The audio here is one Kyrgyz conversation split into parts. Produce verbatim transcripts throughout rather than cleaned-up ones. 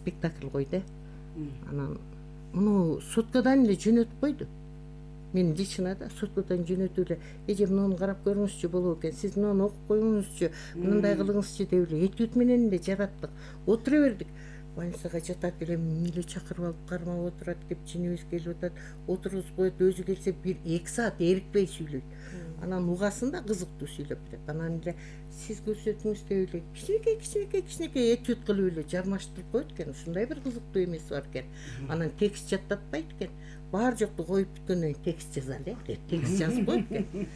спектакль кой да. Анан муну суткадан эле жөнөтүп койду. Мен лично да суткадан жөнөтүп эле эже муну карап көрүңүзчү болот экен, сиз муну окуп коюңузчу, мындай кылыңызчы деп эле этюд менен эле жараттык. Отура бердик. Больницага жатат эле миле чакырып алып кармап отурат, кепчинибиз келип атат, отургузуп коет, өзү келсе бир эки саат эрикпей сүйлөйт. Анан угасын да кызыктуу сүйлөп берет. Анан эле сиз көрсөтүңүз деп эле кичинекей кичинекей кичинекей этюд кылып эле жармаштырып коет экен. Ушундай бир кызыктуу эмеси бар экен. Анан текст жаттатпайт экен. Бар жокту коюп бүткөндөн кийин текст жазалы э деп текст жазып коет экен.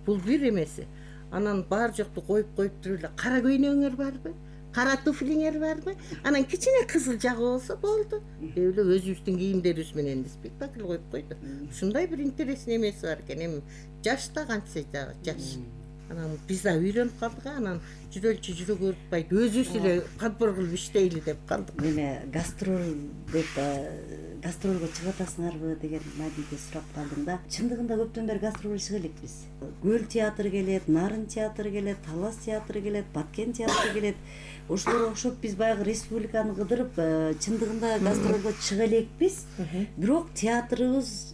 Бул бир эмеси. Анан бар жокту коюп коюп туруп эле кара көйнөгүңөр барбы? Кара туфлиңер барбы? Анан кичине кызыл жагы болсо болду деп эле өзүбүздүн кийимдерибиз менен спектакль коюп койду. Ушундай бир интересный эмеси бар экен. Эми жаш да кантсе дагы жаш. Анан биз да үйрөнүп калдык. Анан жүрөлчү жүрө көрүп атпайт, өзүбүз эле подбор кылып иштейли деп калдык. Эме гастроль деп гастролго чыгып атасыңарбы деген Мадиге сурап калдым да. Чындыгында көптөн бери гастролго чыга элекпиз. Көл театры келет, Нарын театры келет, Талас театры келет, Баткен театры келет. Ошолорго окшоп биз баягы республиканы кыдырып, чындыгында гастролго чыга элекпиз. Бирок театрыбыз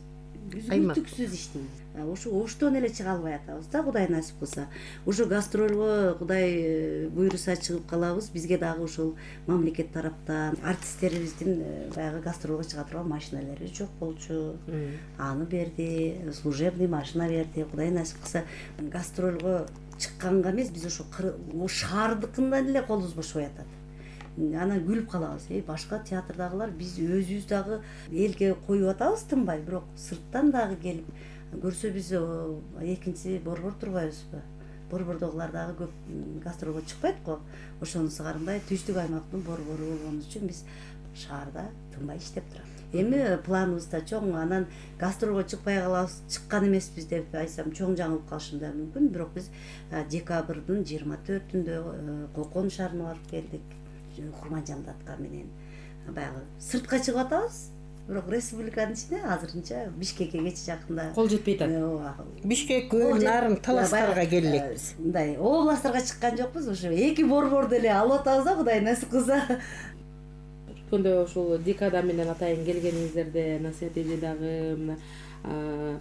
үзгүлтүксүз иштейт. Ошо оштон эле чыга албай атабыз да, Кудай насип кылса. Ошо гастролго Кудай буйруса чыгып калабыз. Бизге дагы ошол мамлекет тараптан артисттерибиздин баягы гастролго чыга турган машиналары жок болчу. Аны берди, служебный машина берди. Кудай насип кылса гастролго чыкканга эмес, биз ошо шаардыкынан эле колубуз бошобой атат. Анан күлүп калабыз. Э, башка театрдагылар биз өзүбүз дагы элге коюп атабыз тынбай, бирок сырттан дагы келип көрсө биз экинчи борбор турбайбызбы? Борбордогулар дагы көп гастролго чыкпайт го. Ошонусу кармай түштүк аймактын борбору болгон үчүн биз шаарда тынбай иштеп турабыз. Эми планыбыз да чоң. Анан гастролго чыкпай калабыз, чыккан эмеспиз деп айтсам чоң жаңылып калышым да мүмкүн. Бирок биз декабрдын жыйырма төртүндө Кокон шаарына барып келдик. Курманжандатка менен баягы сыртка чыгып атабыз. Бирок республиканын ичинде азырынча Бишкекке кече жакында кол жетпей атат. Бишкек, Көл, Нарын, Таластарга келелекпиз. Мындай областтарга чыккан жокпуз. Ошо эки борборду эле алып атабыз да, Кудай насип кылса. Өткөндө ошол Декада менен атайын келгениңиздерде Насият эже дагы, мына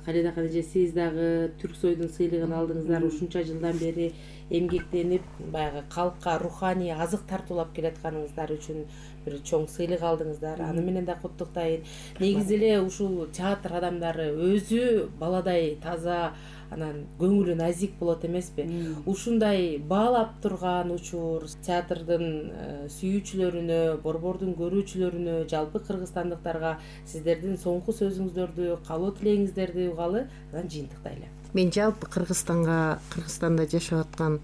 Калидахан эже сиз дагы Түрк Сойдун сыйлыгын алдыңыздар. Ушунча жылдан бери эмгектенип, баягы калкка руханий азык тартуулап келатканыңыздар үчүн бир чоң сыйлык алдыңыздар. Аны менен да куттуктайын. Негизи эле ушул театр адамдары өзү баладай таза, анан көңүлү назик болот эмеспи? Ушундай баалап турган учур театрдын сүйүүчүлөрүнө, борбордун көрүүчүлөрүнө, жалпы кыргызстандыктарга сиздердин соңку сөзүңүздөрдү, каалоо тилегиңиздерди угалы, анан жыйынтыктайлы. Мен жалпы Кыргызстанга, Кыргызстанда жашап аткан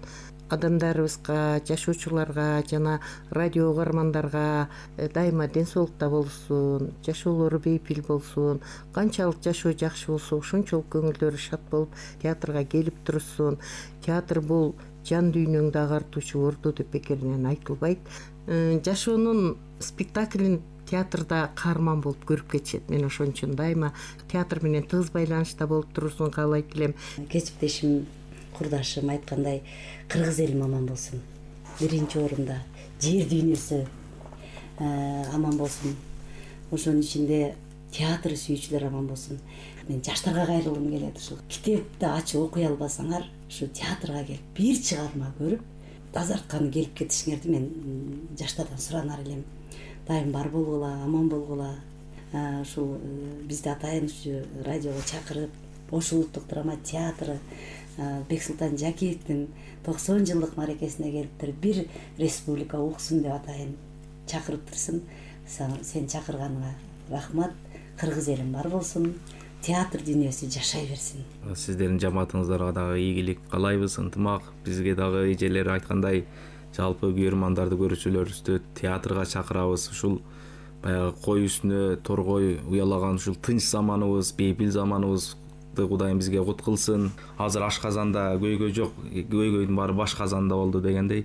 адамдарыбызга, жашоочуларга жана радио угармандарга дайыма ден соолукта болсун, жашоолору бейпил болсун, канчалык жашоо жакшы болсо ошончолук көңүлдөрү шат болуп театрга келип турушсун. Театр бул жан дүйнөңдү агартуучу ордо деп бекеринен айтылбайт. Жашоонун спектаклин театрда каарман болуп көрүп кетишет. Мен ошон үчүн дайыма театр менен тыгыз байланышта болуп турушун каалайт элем. Кесиптешим, курдашым айткандай, кыргыз элим аман болсун. Биринчи орунда жер дүйнөсү аман болсун. Ошонун ичинде театр сүйүүчүлөр аман болсун. Мен жаштарга кайрылгым келет. Ушул китепти ачып окуй албасаңар, ушу театрга келип бир чыгарма көрүп, тазартканы келип кетишиңерди мен жаштардан суранар элем. Дайым бар болгула, аман болгула. Ушул бизди атайын ушу радиого чакырып, Ош улуттук драма театры Бексултан Жакиевдин токсон жылдык маракесине келиптир, бир республика уксун деп атайын чакырып турсун. Сен чакырганыңа рахмат. Кыргыз элим бар болсун. Театр дүйнөсү жашай берсин. Сиздердин жамаатыңыздарга дагы ийгилик каалайбыз, ынтымак. Бизге дагы эжелер айткандай, жалпы күйөрмандарды, көрүүчүлөрүбүздү театрга чакырабыз. Ушул баягы кой үстүнө торгой уялаган ушул тынч заманыбыз, бейпил заманыбыз Кудайым бизге кут кылсын. Азыр ашказанда көйгөй жок, көйгөйдүн баары баш казанда болду дегендей.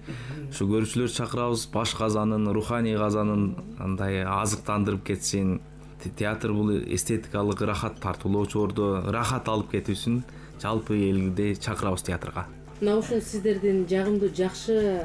Ушу көрүүчүлөр чакырабыз, баш казанын, руханий казанын андай азыктандырып кетсин. Театр бул эстетикалык рахат тартуулоочу ордо, рахат алып кетүүсүн жалпы элди чакырабыз театрга. Мына ушул сиздердин жагымдуу жакшы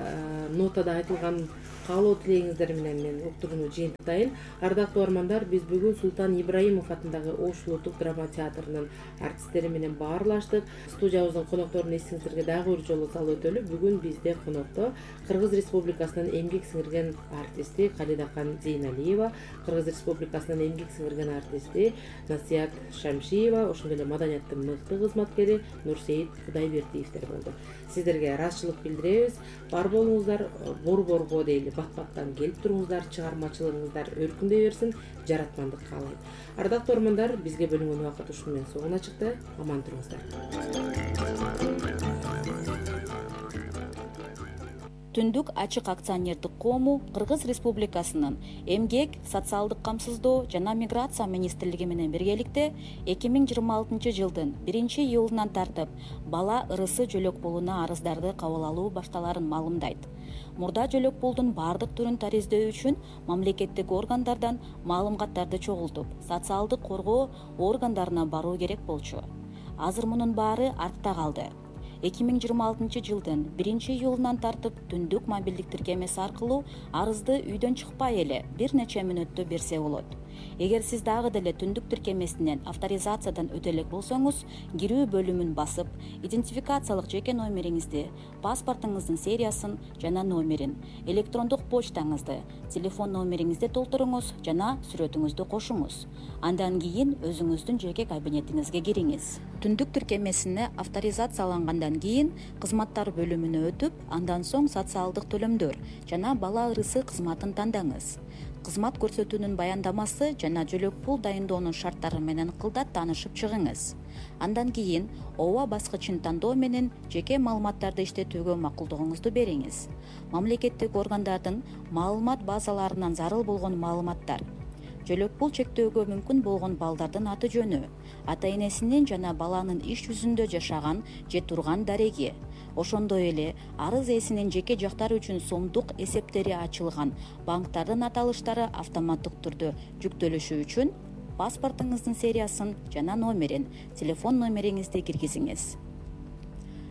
нотада айтылган каалоо тилегиңиздер менен мен уктурууну жыйынтыктайын. Ардактуу угармандар, биз бүгүн Султан Ибраимов атындагы Ош улуттук драма театрынын артисттери менен баарлаштык. Студиябыздын конокторун эсиңиздерге дагы бир жолу салып өтөлү. Бүгүн бизде конокто Кыргыз Республикасынын эмгек сиңирген артисти Калидакан Зейналиева, Кыргыз Республикасынын эмгек сиңирген артисти Насият Шамшиева, ошондой эле маданияттын мыкты кызматкери Нурсейит Кудайбердиевдер болду. Сиздерге ыраазычылык билдиребиз. Бар болуңуздар, борборго дейли бат-баттан келип туруңуздар, чыгармачылыгыңыздар өркүндөй берсин, жаратмандык каалайм. Ардактуу угармандар, бизге бөлүнгөн убакыт ушуну менен соңуна чыкты. Аман туруңуздар. Түндүк ачык акционердик коому Кыргыз Республикасынын эмгек, социалдык камсыздоо жана миграция министрлиги менен биргеликте эки миң жыйырма алтынчы жылдын биринчи июлунан тартып бала ырысы жөлөк пулуна арыздарды кабыл алуу башталарын маалымдайт. Мурда жөлөк пулдун баардык түрүн тариздөө үчүн мамлекеттик органдардан маалыматтарды чогултуп, социалдык коргоо органдарына баруу керек болчу. Азыр мунун баары артта калды. эки миң жыйырма алтынчы жылдын биринчи июлунан тартып түндүк мобилдик тиркемеси аркылуу арызды үйдөн чыкпай эле бир нече мүнөттө берсе болот. Эгер сиз дагы деле түндүк тиркемесинен авторизациядан өтө элек болсоңуз, кирүү бөлүмүн басып, идентификациялык жеке номериңизди, паспортуңуздун сериясын жана номерин, электрондук почтаңызды, телефон номериңизди толтуруңуз жана сүрөтүңүздү кошуңуз. Андан кийин өзүңүздүн жеке кабинетиңизге кириңиз. Түндүк тиркемесине авторизациялангандан кийин кызматтар бөлүмүнө өтүп, андан соң социалдык төлөмдөр жана бала ырысы кызматын тандаңыз. Кызмат көрсөтүүнүн баяндамасы жана жөлөк пул дайындоонун шарттары менен кылдат таанышып чыгыңыз. Андан кийин ооба баскычын тандоо менен жеке маалыматтарды иштетүүгө макулдугуңузду бериңиз. Мамлекеттик органдардын маалымат базаларынан зарыл болгон маалыматтар, жөлөк пул чектөөгө мүмкүн болгон балдардын аты жөнү, ата энесинин жана баланын иш жүзүндө жашаган же турган дареги, ошондой эле арыз ээсинин жеке жактары үчүн сомдук эсептери ачылган банктардын аталыштары автоматтык түрдө жүктөлүшү үчүн паспортуңуздун сериясын жана номерин, телефон номериңизди киргизиңиз.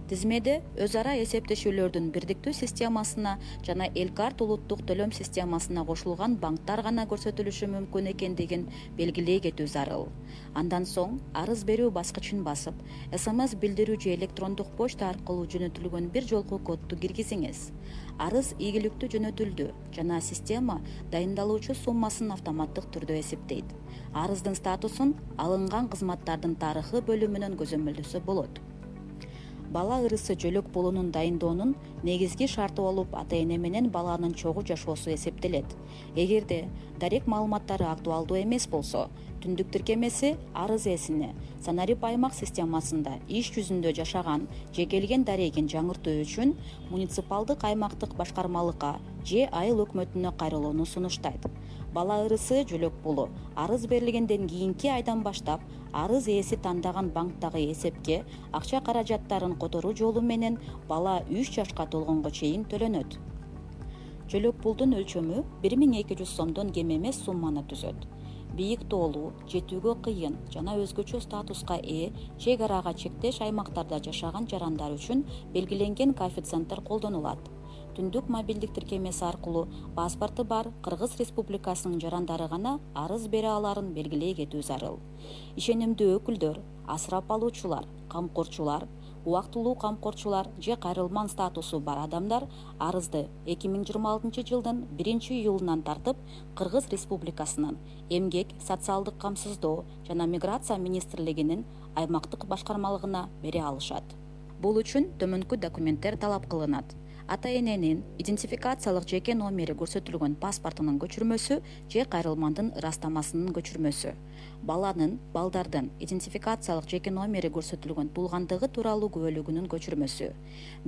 Тизмеде өз ара эсептешүүлөрдүн бирдиктүү системасына жана Элкарт улуттук төлөм системасына кошулган банктар гана көрсөтүлүшү мүмкүн экендигин белгилей кетүү зарыл. Андан соң арыз берүү баскычын басып, СМС билдирүү же электрондук почта аркылуу жөнөтүлгөн бир жолку кодду киргизиңиз. Арыз ийгиликтүү жөнөтүлдү жана система дайындалуучу суммасын автоматтык түрдө эсептейт. Арыздын статусун алынган кызматтардын тарыхы бөлүмүнөн көзөмөлдөсө болот. Бала ырысы жөлөк пулунун дайындоонун негизги шарты болуп ата эне менен баланын чогуу жашоосу эсептелет. Эгерде дарек маалыматтары актуалдуу эмес болсо, түндүк тиркемеси арыз ээсине Санарип аймак системасында иш жүзүндө жашаган же келген дарегин жаңыртуу үчүн муниципалдык аймактык башкармалыкка же айыл өкмөтүнө кайрылууну сунуштайт. Бала ырысы жөлөк пулу арыз берилгенден кийинки айдан баштап арыз ээси тандаган банктагы эсепке акча каражаттарын которуу жолу менен бала үч жашка толгонго чейин төлөнөт. Жөлөк пулдун өлчөмү бир миң эки жүз сомдон кем эмес сумманы түзөт. Бийик тоолуу, жетүүгө кыйын жана өзгөчө статуска ээ чек арага чектеш аймактарда жашаган жарандар үчүн белгиленген коэффициенттер колдонулат. Түндүк мобилдик тиркемеси аркылуу паспорту бар Кыргыз Республикасынын жарандары гана арыз бере аларын белгилей кетүү зарыл. Ишенимдүү өкүлдөр, асырап алуучулар, камкорчулар, убактылуу камкорчулар же кайрылман статусу бар адамдар арызды эки миң жыйырма алтынчы жылдын биринчи июлунан тартып Кыргыз Республикасынын эмгек, социалдык камсыздоо жана миграция министрлигинин аймактык башкармалыгына бере алышат. Бул үчүн төмөнкү документтер талап кылынат. Ата эненин идентификациялык жеке номери көрсөтүлгөн паспортунун көчүрмөсү же кайрылмандын ырастамасынын көчүрмөсү, баланын, балдардын идентификациялык жеке номери көрсөтүлгөн туулгандыгы тууралуу күбөлүгүнүн көчүрмөсү,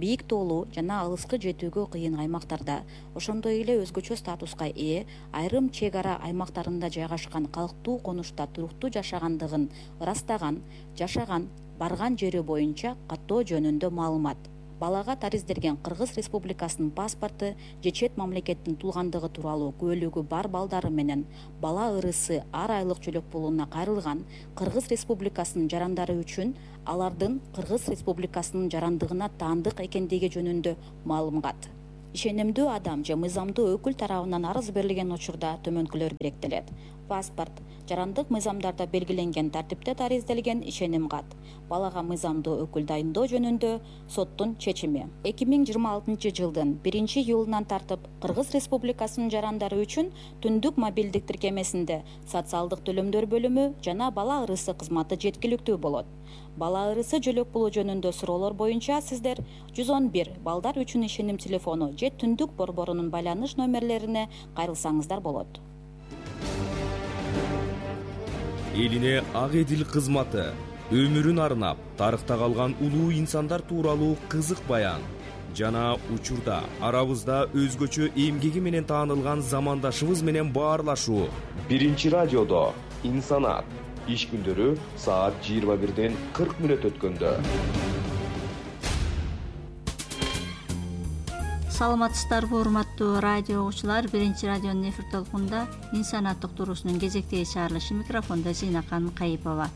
бийик тоолуу жана алыскы жетүүгө кыйын аймактарда, ошондой эле өзгөчө статуска ээ айрым чек ара аймактарында жайгашкан калктуу конушта туруктуу жашагандыгын ырастаган, жашаган, барган жери боюнча каттоо жөнүндө маалымат. Балага тариздерген Кыргыз Республикасынын паспорту же чет мамлекеттин туулгандыгы тууралуу күбөлүгү бар балдары менен бала ырысы ар айлык жөлөк пулуна кайрылган Кыргыз Республикасынын жарандары үчүн алардын Кыргыз Республикасынын жарандыгына таандык экендиги жөнүндө маалымат. ишенимдүү адам же мыйзамдуу өкүл тарабынан арыз берилген учурда төмөнкүлөр керектелет: паспорт, жарандык мыйзамдарда белгиленген тартипте дарызделген ишеним кат, балага мыйзамдуу өкүл дайындоо жөнүндө соттун чечими. эки миң жыйырма алтынчы жылдын биринчи июлунан тартып Кыргыз Республикасынын жарандары үчүн түндүк мобилдик тиркемесинде социалдык төлөмдөр бөлүмү жана бала ырысы кызматы жеткиликтүү болот. Бала ырысы жөлөк болуу жөнүндө суроолор боюнча сиздер жүз он бир балдар үчүн ишеним телефону же түндүк борборунун байланыш номерлерине кайрылсаңыздар болот. Элине ак эдил кызматы өмүрүн арнап тарыхта калган улуу инсандар тууралуу кызык баян жана учурда арабызда өзгөчө эмгеги менен таанылган замандашыбыз менен баарлашуу. Биринчи радиодо инсанат иш күндөрү саат жыйырма бирден кырк мүнөт өткөндө. Саламатсыздарбы, урматтуу радио угуучулар. Биринчи радионун эфир толкунда инсанат доктурусунун кезектеги чыгарылышы, микрофондо Зейнакан Кайыпова.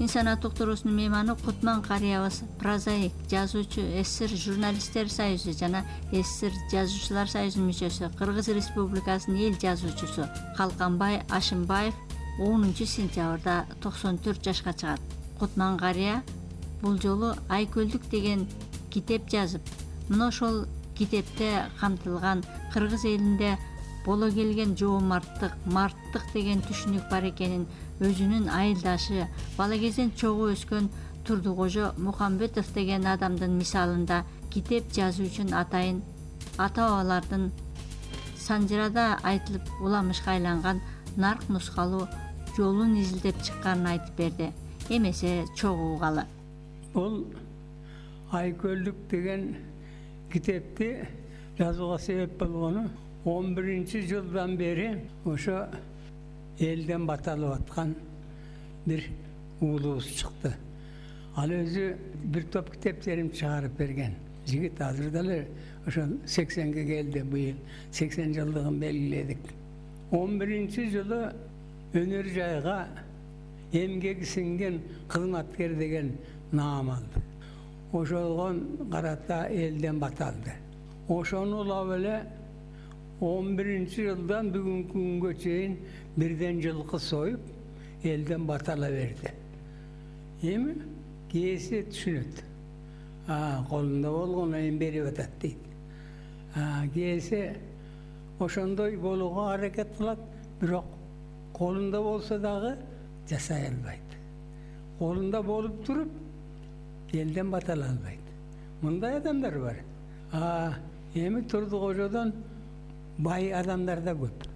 Инсанат доктурусунун мейманы Кутман карыябыз, прозаик, жазуучу, СССР журналисттер союзу жана СССР жазуучулар союзунун мүчөсү, Кыргыз Республикасынын эл жазуучусу Калканбай Ашимбаев онунчу сентябрда токсон төрт жашка чыгат. Кутман карыя бул жолу Айкөлдүк деген китеп жазып, мына ошол китепте камтылган кыргыз элинде боло келген жоомарттык, марттык деген түшүнүк бар экенин өзүнүн айылдашы, бала кезден чогуу өскөн Турдукожо Мухамбетов деген адамдын мисалында китеп жазуу үчүн атайын ата-бабалардын санжырада айтылып уламышка айланган нарк нускалуу жолун изилдеп чыкканын айтып берди. Эмесе чогуу угалы. Бул Айкөлдүк деген китепти жазууга себеп болгону он биринчи жылдан бери ошо элден баталып аткан бир уулубуз чыкты. Ал өзү бир топ китептерин чыгарып берген жигит. Азыр деле ошо сексенге келди, быйыл сексен жылдыгын белгиледик. он биринчи жылы өнөр жайга эмгеги сиңген кызматкер деген наам алды. Ошолгон карата элден баталды. Ошону улап эле он биринчи жылдан бүгүнкү күнгө чейин бирден жылкы союп элден батала берди. Эми кээси түшүнөт. А колунда болгону эми берип атат дейт. А кээси ошондой болууга аракет кылат, бирок колунда болсо дагы жасай албайт. Колунда болуп туруп элден батала албайт. Мындай адамдар бар. А эми Турдукожодон бай адамдар да көп.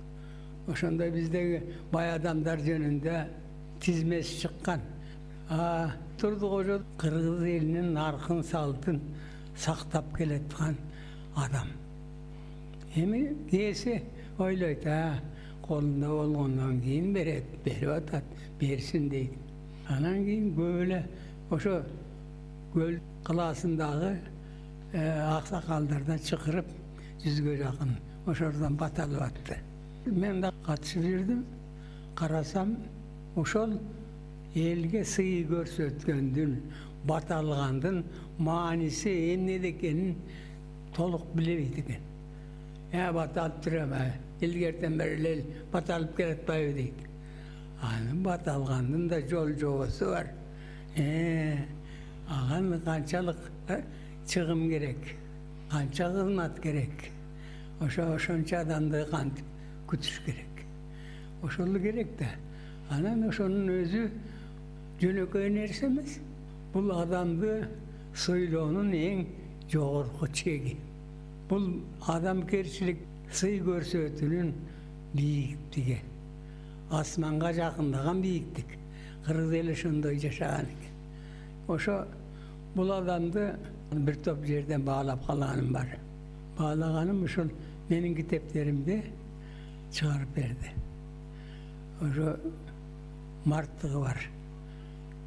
Ошондой биздеги бай адамдар жөнүндө тизмеси чыккан. А Турдукожо кыргыз элинин наркын салтын сактап келаткан адам. Эми кээси ойлойт, а колунда болгондон кийин берет, берип атат, берсин дейт. Анан кийин көп эле ошо көл кылаасындагы аксакалдардан чакырып жүзгө жакын ошордон баталып атты. Мен да катышып жүрдүм. Карасам ошол элге сый көрсөткөндүн, баталгандын мааниси эмнеде экенин толук билебейт экен. Я баталып турам, илгертен бери эле баталып келатпайбы дейт. Анын баталгандын да жол жобосу бар. Э, аган канчалык чыгым керек, канча кызмат керек. Ошо ошончо адамды кантип күтүш керек. Ошол керек да. Анан ошонун өзү жөнөкөй нерсе эмес. Бул адамды сыйлоонун эң жогорку чеги. Бул адамкерчилик, сый көрсөтүүнүн бийиктиги. Асманга жакындаган бийиктик. Кыргыз эли ошондой жашаган экен. Ошо бул адамды бир топ жерден баалап калганым бар. Баалаганым ушул менин китептеримди чыгарып берди. Ошо марттыгы бар.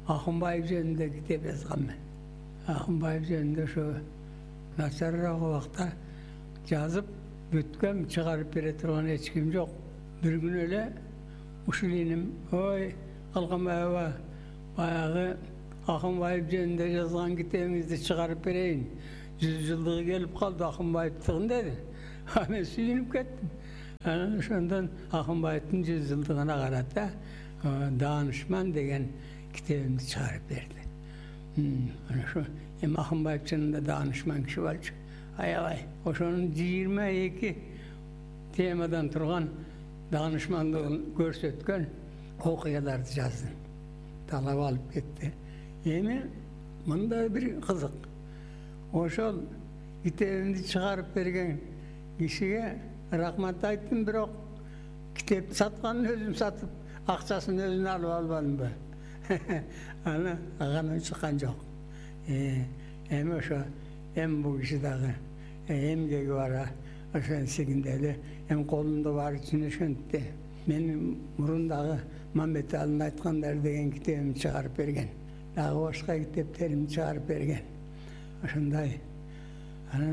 Акынбаев жөнүндө китеп жазгам мен. Акынбаев жөнүндө ошо начарыраак убакта жазып бүткөм, чыгарып бере турган эч ким жок. Бир күнү эле ушул иним, ой, Калканбаева, баягы Акынбаев жөнүндө жазган китебиңизди чыгарып берейин. жүз жылдыгы келип калды Акынбаевдикин деди. А мен сүйүнүп кеттим. Анан ошондон Акынбаевдин жүз жылдыгына карата Даанышман деген китебимди чыгарып берди. Ana şu hem Akınbayevçinin de danışman kişi var. Ayalay. Oşonun yigirme iki temadan turgan danışmanlığını görsetken okuyalardı yazdım. Talap alıp gitti. Yeni bunda bir kızık. Oşol kitebimdi çıkarıp bergen kişiye rahmat ayttım, biroq kitep satkanın özüm satıp akçasını özüne alıp almadım ben. Ana ağanın çıkan yok. Hem oşo hem bu kişi dağı hem gegi var oşon sigindeli hem kolunda var içine şöntti. Benim murundağı Mehmet Ali'nin aytkanlar degen kitebimi çıkarıp bergen. Dağı başka kiteplerimi çıkarıp bergen. Oşonday. Ana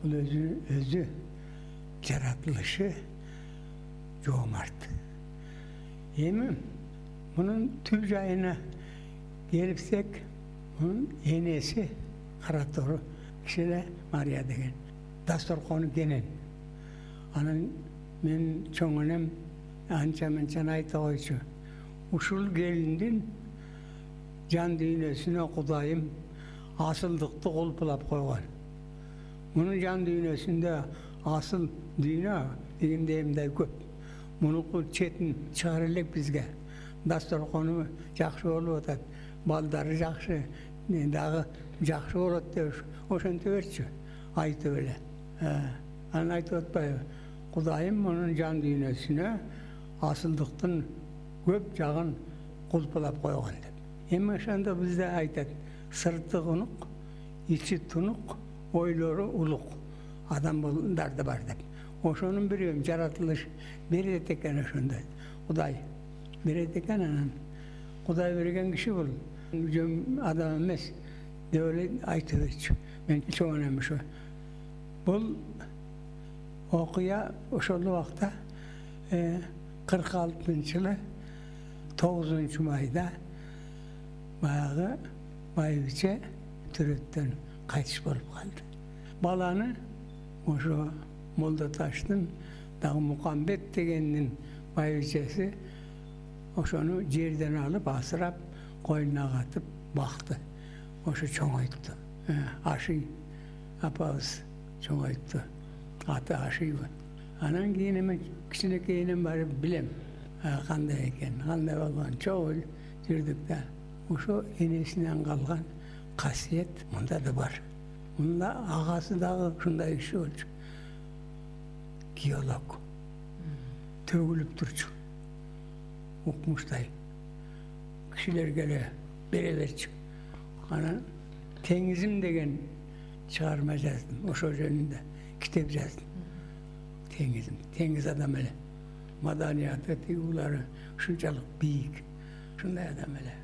bu özü özü yaratılışı cömert. Yemim. Bunun tül jayına gelipsek, bunun enesi Karatoru kişide Maria degen. Dastorkonu genen. Anın men çoğunem anca mençen ayta koyçu. Uşul gelindin can düğünesine Kudayım asıldıkты kolpulap koygan. Bunun can düğünesinde asıl düğüne degimdeyimde köp. Bunu çetin çağırılık bizge. Dastorkonu жақсы болуп атат, балдары жақсы, дагы жақсы болот деп ошентип берчү, айтып эле. Анан айтып атпайбы, Кудайым мунун жан дүйнөсүнө асылдыктын көп жагын кулпулап койгон деп. Эми ошондо бизде айтат, сырты унук, ичи тунук, ойлору улук адамдар да бар деп. Ошонун бирөөм жаратылыш берет экен ошондой. Кудай берет экен, анан Кудай берген киши бул. Жөн адам эмес деп эле айтып берчү. Мен чоңунам ошо. Бул окуя ошол убакта кырк алтынчы жылы тогузунчу майда баягы байбиче төрөттөн кайтыш болуп калды. Баланы ошо Молдоташтын дагы Мукамбет дегендин байбичеси ошону жерден алып асырап койнуна катып бакты. Ошо чоңойту. Ашый апабыз чоңойту. Аты Ашыйбы. Анан кийин эми кичинекейинен барып билем кандай экен, кандай болгон. Чогуу жүрдүк да. Ошо энесинен калган касиет мында да бар. Мында агасы дагы ушундай киши болчу. Геолог. Төгүлүп турчу. Укмуштай кишилерге эле бере берчү. Анан Теңизим деген чыгарма жаздым. Ошо жөнүндө китеп жаздым. Теңизим, теңиз адам эле. Маданияты, тигулары ушунчалык бийик. Ушундай адам эле.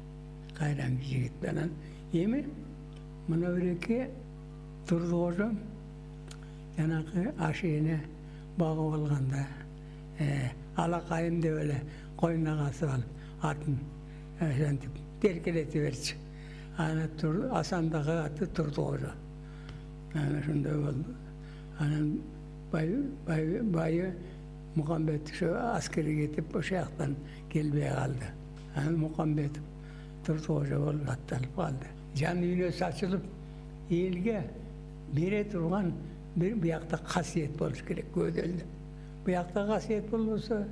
Кайраңкы жигит. Анан эми мына биреке Турдукожо жанакы ашыйыны багып алганда алакайым деп эле койнуна касып алып атын ошентип теркелетип берчү. Аны Асандагы аты Турдукожо. Анан ошондой болду. Анан байы Мукамбет ошо аскерге кетип ошол жактан келбей калды. Анан Мукамбетов Турдукожо болуп атталып калды. Жан дүйнөсү ачылып элге бере турган бир биякта касиет болуш керек көдөлдө. Биякта касиет болбосо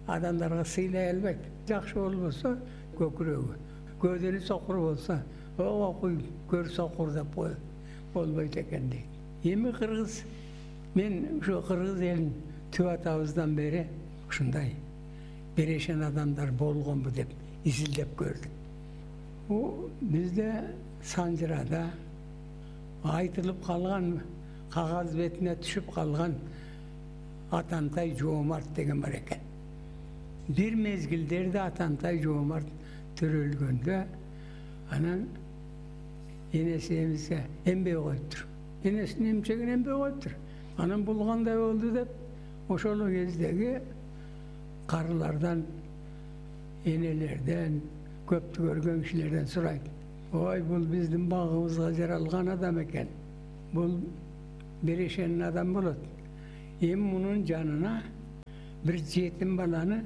адамдарга сыйлай албайт. Жакшы болбосо көкүрөгү, көдөнү сокур болсо окуй көр сокур деп кой болбойт экен дейт. Эми кыргыз мен ушу кыргыз элин түп атабыздан бери ушундай берешен адамдар болгонбу деп изилдеп көрдүм. Бу бизде Санжырада айтылып калган, кагаз бетине түшүп калган Атантай Жоомарт деген бар экен. Бир мезгилдерде Атантай Жоомарт төрөлгөндө анан энеси эмизге эмбей коюптур. Энесин эмчегин эмбей коюптур. Анан бул кандай болду деп ошол кездеги карылардан, энелерден, көптү көргөн кишилерден сурайт. Ой, бул биздин багыбызга жаралган адам экен. бул берешен адам болот. Эми мунун жанына бир жетим баланы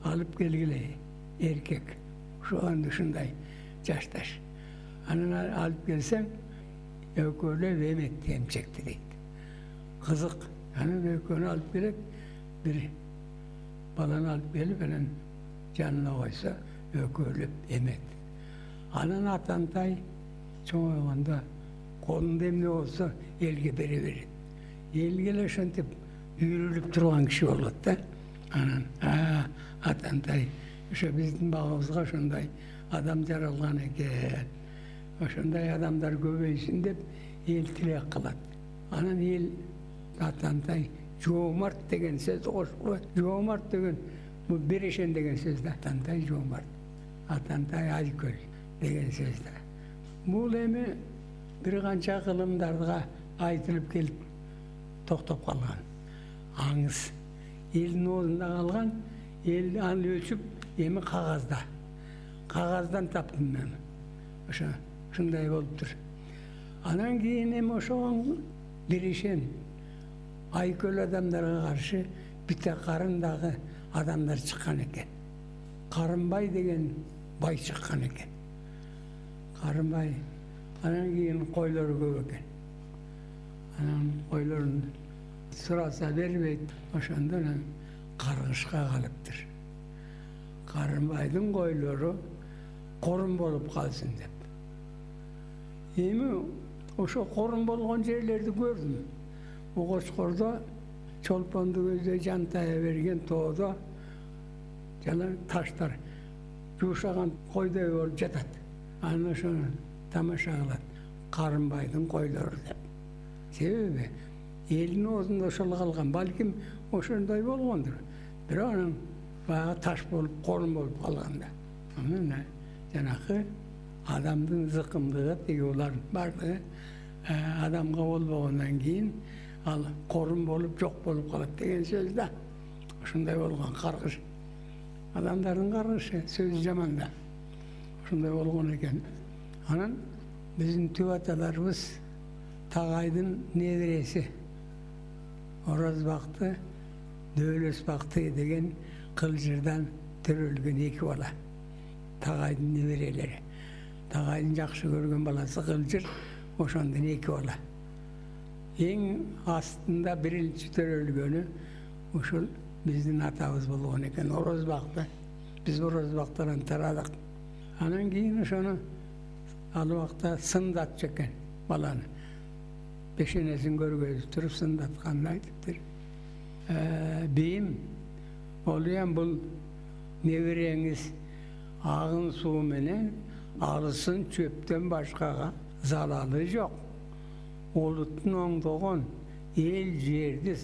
алып келгиле, эркек. Ошондо ушундай жашташ. Анан алып келсең, экөөлөп эмекти эмчекти дейт. Кызык. Анан экөөнү алып келет, бир баланы алып келип, анан жанына койсо, экөөлөп эмет. Анан атантай чоңойгондо колунда эмне болсо элге бере берет. Элге эле ошентип үйрүлүп турган киши болот да. Анан а атантай ошо биздин багыбызга ошондой адам жаралган экен. Ошондой адамдар көбөйсүн деп эл тилек кылат. Анан эл атантай жоомарт деген сөздү кошуп, жоомарт деген бул берешен деген сөз да. Атантай жоомарт, атантай айкөл деген сөз да. Бул эми бир канча кылымдарга айтылып келип токтоп калган. Аңыз элдин оозунда калган, эл аны өлчүп эми кагазда. Кагаздан таптым мен. Ошо ушундай болуптур. Анан кийин эми ошого берешен айкөл адамдарга каршы бите карындагы адамдар чыккан экен. Карынбай деген бай чыккан экен. Карынбай. Анан кийин койлору көп экен. Анан койлорун сураса бербейт. Ошондо анан каргышка калыптыр. Карынбайдын койлору корун болуп калсын деп. Эми ошо корун болгон жерлерди көрдүм. Огочкордо, Чолпонду көздөй жантая берген тоодо жана таштар жуушаган койдой болуп жатат. Анан ошону тамаша кылат. Карынбайдын койлору деп. Себеби элдин оозунда ошол калган, балким ошондой болгондур. Бирок анан баягы таш болуп, корун болуп калганда. Анан жанакы адамдын зыкымдыгы тиги улардын бардыгы адамга болбогондон кийин ал корун болуп жок болуп калат деген сөз да. Ошондой болгон каргыш. Адамдардын каргышы сөзү жаман да. Ошондой болгон экен. Анан биздин түп аталарыбыз Тагайдын небереси Орозбакты, Дөөлөсбакты деген кылжырдан төрөлгөн эки бала. Тагайдын неберелери. Тагайдын жакшы көргөн баласы кылжыр, ошондон эки бала. Эң астында биринчи төрөлгөнү ушул биздин атабыз болгон экен, Орозбакты. Биз Орозбактан тарадык. Анан кийин ошону ал убакта сындатчу экен баланы. Бешенесин көргөзүп туруп сындатканын айтыптыр. Бийим, олуям бул небереңиз агын суу менен алысын чөптөн башкага залалы жок. Олуттун оңдогон, эл жерди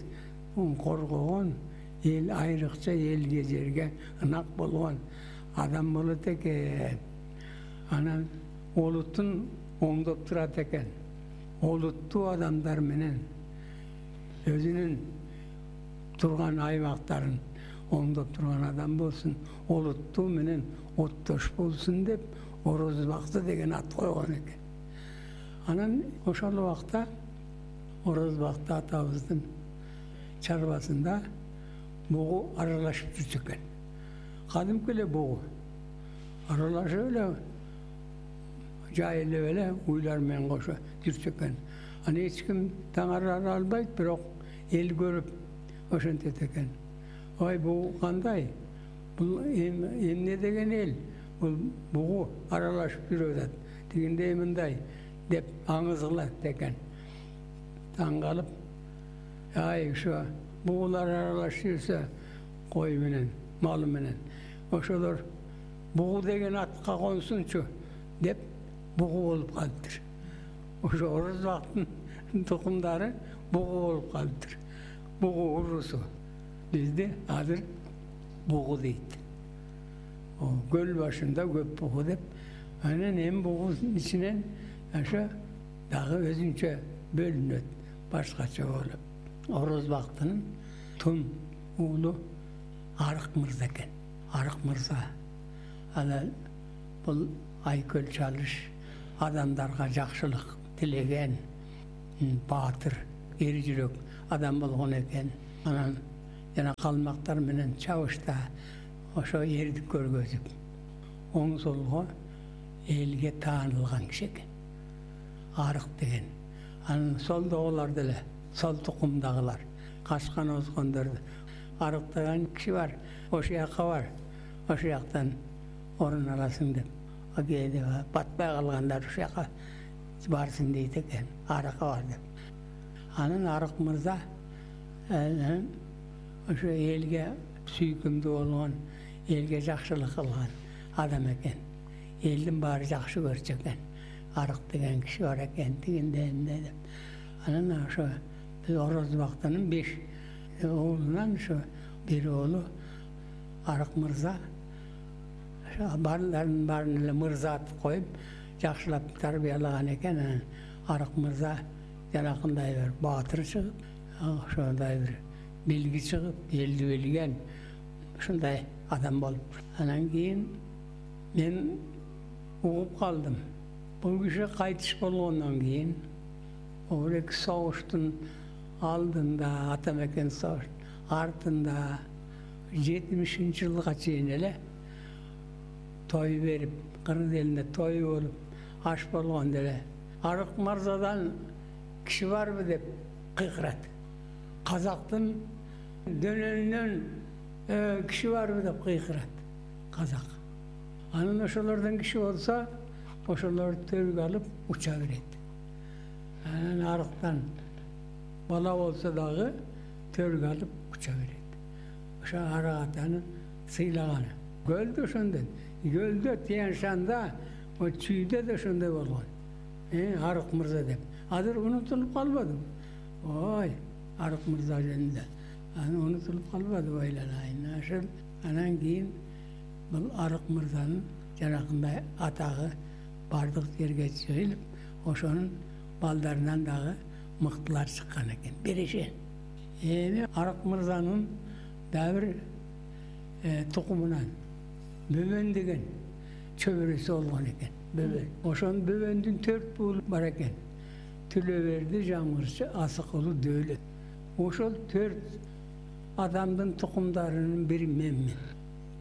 коргогон, эл айрыкча элге жерге ынак болгон адам болот экен. Анан олуттун оңдоп турат экен. Олуттуу адамдар менен өзүнүн турган аймактарын оңдоп турган адам болсун, олуттуу менен оттош болсун деп Орозбакты деген ат койгон экен. Анан ошол убакта Орозбакты атабыздын чарбасында бугу аралашып жүрчү экен. Кадимки эле бугу аралашып эле жайылып эле уйлар менен кошо жүрчү экен. Аны эч ким таңара албайт, бирок эл көрүп ошентет экен. Ой, бугу кандай? Бул эмне деген эл? Бул бугу аралашып жүрүп атат. Тигиндей мындай деп аңыз кылат экен. Таң калып, ай ошо бугулар аралашып жүрсө кой менен, малы менен, ошолор бугу деген атка консунчу деп бугу болуп калыптыр. Ошо Орозбактын тукумдары бугу болуп калыптыр. Бугу урусу. Бизде азыр бугу дейт. Көл башында көп бугу деп. Анан эми бугунун ичинен ошо дагы өзүнчө бөлүнөт, башкача болуп. Орозбактын тун уулу Арык мырза экен. Арык мырза. Анан бул айкөл чалыш, адамдарга жакшылык тилеген, баатыр, эр жүрөк адам болгон экен. Анан жана калмактар менен чабышта ошо эрдик көргөзүп, оң солго элге таанылган киши экен. Арык деген. Анан солдогулар деле, сол тукумдагылар, качкан озгондорду. Арык деген киши бар, ошол жака бар, ошол жактан орун аласың деп. Кээде батпай калгандар ошол жака барсың дейт экен, арыкка бар деп. Анан Арык мырза ошо элге сүйкүмдүү болгон, элге жакшылык кылган адам экен. Элдин баары жакшы көрчү экен. Арык деген киши бар экен, тигинде эмне деп. Анан ошо биз Орозбактын беш оолунан ошо бир оолу Арык мырза баарларын баарын эле мырза атып коюп, жакшылап тарбиялаган экен. Анан Арык мырза жанакындай бир баатыр чыгып, ошондой бир билги чыгып, элди билген ушундай адам болуп. Анан кийин мен угуп калдым. Бул киши кайтыш болгондон кийин бул эки согуштун алдында, Атамекен согуш артында жетимишинчи жылга чейин эле той берип, кыргыз элинде той болуп, аш болгондо эле Арык мырзадан киши барбы деп кыйкырат. Казактын дөнөнүнөн киши барбы деп кыйкырат казак. Анан ошолордон киши болсо, ошолор төргө алып уча берет. Анан Арыктан бала болсо дагы төргө алып уча берет. Ошо Арык атаны сыйлаганы. Көлдө ошондой. Көлдө Тянь-Шанда, о Чүйдө да ошондой болгон. Э, Арык мырза деп. Азыр унутулуп калбады. Ой, Арык мырза жөнүндө. Аны унутулуп калбады ойланайын. Ошол анан кийин бул Арык мырзанын жанакындай атагы бардык жерге жайылып, ошонун балдарынан дагы мыктылар чыккан экен. Берешен. Эми Арык мырзанын дагы бир тукумунан Бөбөн деген чөбөрөсү болгон экен. Бөбөн. Ошонун Бөбөндүн төрт буулу бар экен. Түлөберди, Жамгырчы, Асыкулу, Дөөлөт. Ошол төрт адамдын тукумдарынын бири менмин.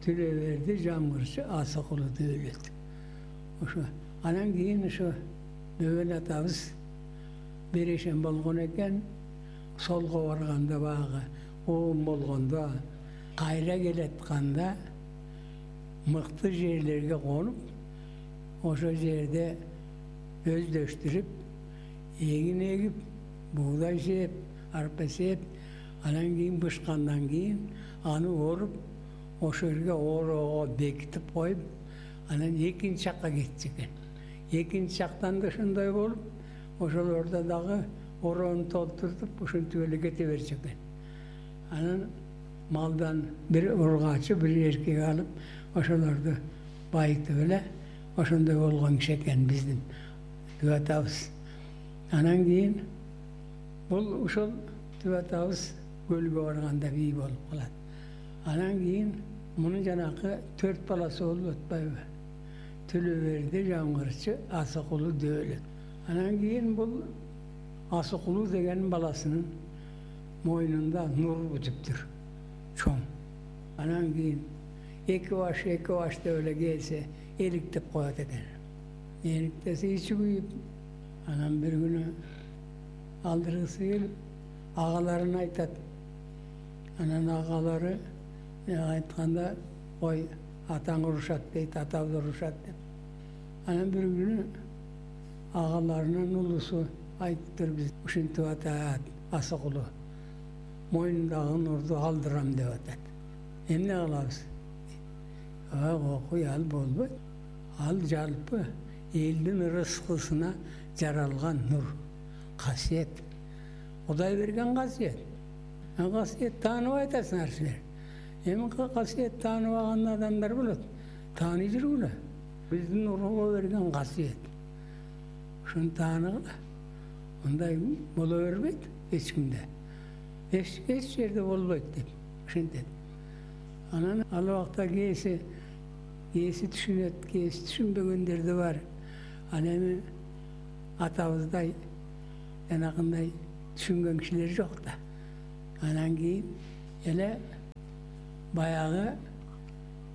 Түлөберди, Жамгырчы, Асыкулу, Дөөлөт. Ошо анан кийин ошо Бөбөн атабыз берешен болгон экен. Солго барганда багы оом болгондо, кайра келатканда мыкты жерлерге конуп, ошо жерде өздөштүрүп, эгин эгип, бугдай сеп, арпа сеп, анан кийин бышкандан кийин аны оруп, ошо жерге ороого бекитип коюп, анан экинчи жакка кетчү экен. Экинчи жактан да ошондой болуп, ошолордо дагы ороону толтуртуп, ушинтип эле кете берчү экен. Анан малдан бир ургачы, бир эркек алып, ошолорду байытып эле ошондой болгон киши экен биздин түбө атабыз. Анан кийин бул ушул түбө атабыз көлгө барганда бий болуп калат. Анан кийин мунун жанакы төрт баласы болуп атпайбы? Түлөберди, Жамгырчы, Асыкулу, Дөөлөт. Анан кийин бул Асыкулу деген баласынын мойнунда нур бүтүптүр, чоң. Анан кийин эки баш, эки баш деп эле келсе, эликтеп коет экен. Эликтесе ичи күйүп, анан бир күнү алдыргысы келип, агаларын айтат. Анан агалары айтканда, ой, атаң урушат дейт, атабыз урушат деп. Анан бир күнү агаларынын улусу айтыптыр, биз ушинтип атат, Асыкулу мойнундагы нурду алдырам деп атат. Эмне кылабыз? Окуй ал болбойт. Ал жалпы элдин ырыскысына жаралган нур, касиет. Кудай берген касиет. Касиет тааныбай атасыңар силер. Эми касиет тааныбаган адамдар болот. Тааны жүргүлө. Биздин урууга берген касиет. Ушуну тааныгыла. Мындай боло бербейт эч кимде. Эч эч жерде болбойт деп ушинтет. Анан ал убакта кээси кээси түшүнөт, кээси түшүнбөгөндөр да бар. Анан эми атабыздай жанагындай түшүнгөн кишилер жок да. Анан кийин эле баягы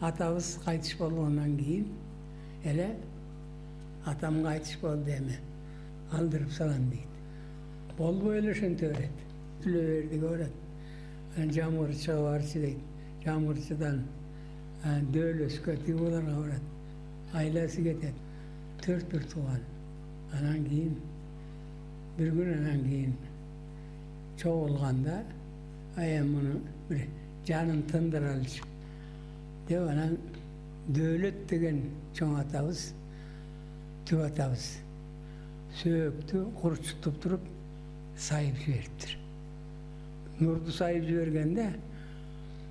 атабыз кайтыш болгондон кийин эле атам кайтыш болду эми алдырып салам дейт. Болбой эле ошентө берет. Түлө бердиге барат. Анан жамгырчыга барчы дейт. Жамгырчыдан дөөлөскө тигуларга барат. Айласы кетет. Төрт бир тууган. Анан кийин бир күн анан кийин чогулганда аян муну бир жанын тындыралычы деп анан Дөөлөт деген чоң атабыз, түп атабыз сөөктү курчутуп туруп сайып жибериптир. Нурду сайып жибергенде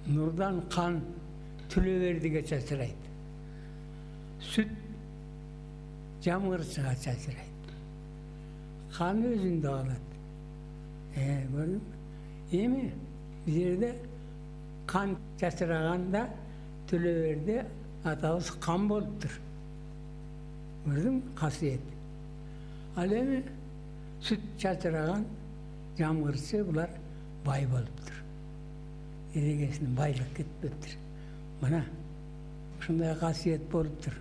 нурдан кан түлө бердиге чачырайт. Сүт жамгырчыга чачырайт. Кан өзүндө калат. Э, көрдүңбү? Эми бул жерде кан чачыраганда түлө берди атабыз кан болуптур. Көрдүңбү? Касиет. Ал эми сүт чачыраган жамгырчы булар бай болуптур. Эрегесинен байлык кетпептир. Мына ушундай касиет болуптур.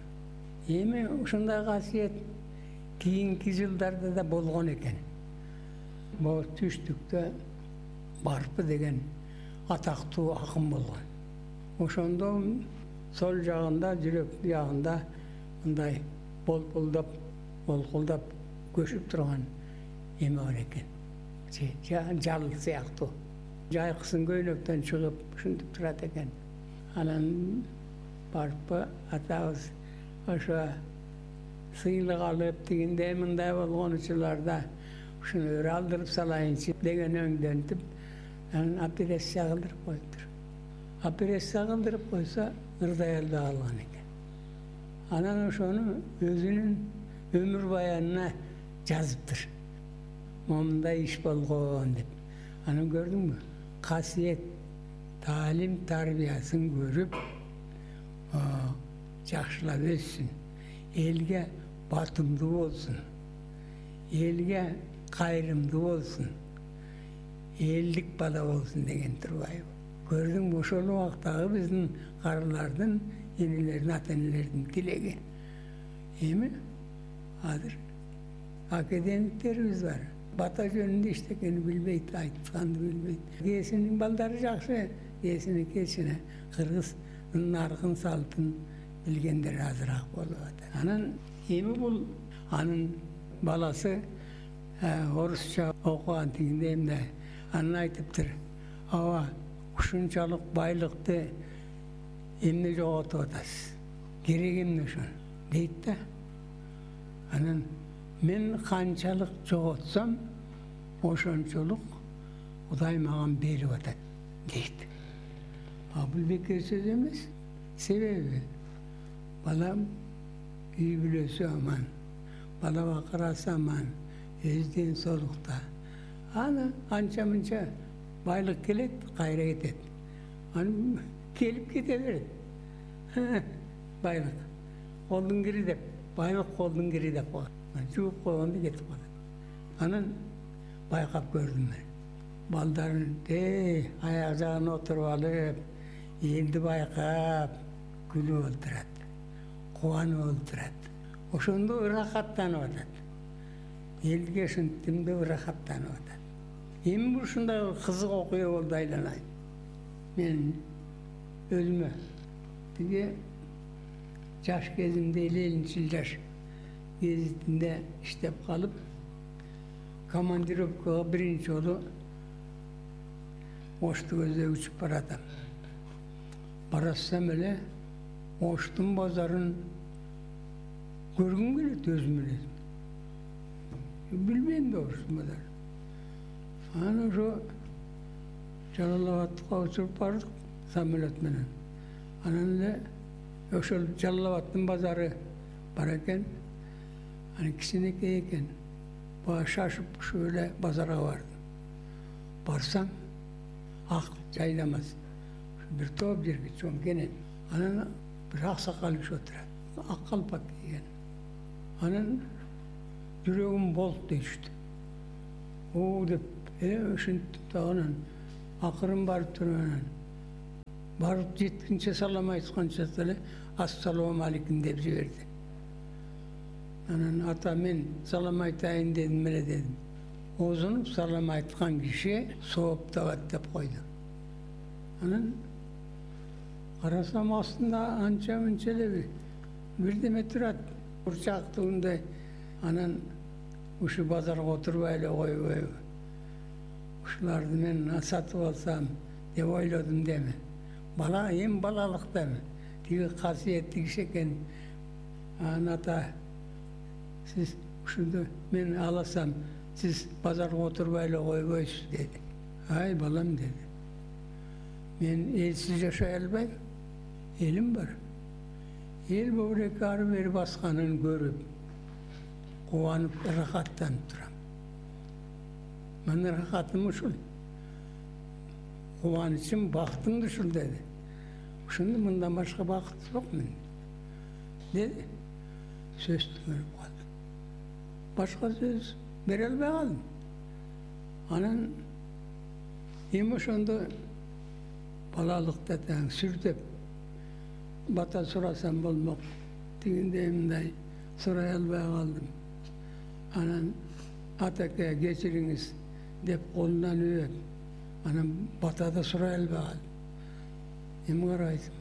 Эми ушундай касиет кийинки жылдарда да болгон экен. Могу түштүктө Барпы деген атактуу акын болгон. Ошондо сол жагында, жүрөк жагында мындай болпулдап, болкулдап көшүп турган эме бар экен. Жал сыяктуу. Жайкысын көйнөктөн чыгып ушинтип турат экен. Анан Барпы атабыз ошо сыйлык алып тигинде мындай болгон учурларда ушуну бир алдырып салайынчы деген өңдөнтүп, анан операция кылдырып коюптур. Операция кылдырып койсо ырдай албай калган экен. Анан ошону өзүнүн өмүр баянына жазыптыр. Момундай иш болгон деп. Анан көрдүңбү? Касиет, таалим, тарбиясын көрүп, жакшылап өссүн, элге батымдуу болсун, элге кайрымдуу болсун, элдик бала болсун деген турбайбы? Көрдүңбү? Ошол убактагы биздин карылардын, энелердин, ата-энелердин тилеги. Эми азыр академиктерибиз бар. Бата жөнүндө иштекени билбейт, айтканды билбейт. Кээсинин балдары жакшы, кээсинин кечине кыргыздын наркын, салтын билгендер азыраак болуп атат. Анан эми бул анын баласы орусча окуган тигинде эмне анан айтыптыр. Аба ушунчалык байлыкты эмне жоготуп атасыз? Керек эмне ошон? Дейт да. Анан мен канчалык жоготсом, ошончолук Кудай маған берип атат дейт. А бул бекер сөз эмес. Себеби балам үй бүлөсү аман, бала бакырасы аман, өз ден соолукта. Аны анча мынча байлык келет, кайра кетет. Аны келип кете берет. Байлык колдун кири деп, байлык колдун кири деп коет. Жууп койгондо кетип калат. Анан байкап көрдүм мен. Балдарын эй аяк жагына отуруп алып, элди байкап күлүп олтурат, кубанып олтурат. Ошондо ырахаттанып атат. Элге ушинтип ырахаттанып атат. Эми ушундай кызык окуя болду айланайын. Мен өзүмө тиги жаш кезимде элүүнчү жаш кезинде иштеп калып, командировкага биринчи жолу Ошту көздөй учуп баратам. Барасам эле Оштун базарын көргүм келет өзүм эле. Билбейм да Оштун базарын. Анан ошо Жалал-Абадка учуп бардык самолет менен. Анан эле ошол Жалал-Абадтын базары бар экен. Анан кичинекей экен. Баа шашып ушу эле базарга бардым. Барсам ак жайламас. Бир топ жерге чоң кенен. Анан бир аксакал киши отурат. Ак калпак кийген. Анан жүрөгүм болт дейишти. уу деп э ушинтип дагынан акырын барып туруп анан барып жеткинче салам айтканча эле ассалому алейкум деп жиберди. Анан ата мен салам айтайын дедим эле дедим. Оозунуп салам айткан киши сооп табат деп койду. Анан карасам астында анча мынча эле бирдеме турат. Бурчактуундай. Анан ушу базарга отурбай эле койбойбу. Ушуларды мен сатып алсам деп ойлодум деме. Бала эми балалыктамы. Тиги касиеттүү киши экен. Анан ата сиз ушунду мен аласам, сиз базарга отурбай эле койбойсуз деди. Ай балам деди. Мен элсиз жашай албайм. Элим бар. Эл бобуреке ары бери басканын көрүп, кубанып, рахаттанып турам. Менин рахатым ушул. Кубанычым, бактым да ушул деди. Ушунду мындан башка бакыт жок мен. Деди. Сөз түгөрүп калдым. Башка сөз бере албай калдым. Анан эми ошондо балалыкта таң сүртөп бата сурасам болмок. Тигинде мындай сурай албай калдым. Анан атаке кечириңиз деп колунан өөп, анан батада сурай албай калдым. Эми карайсың.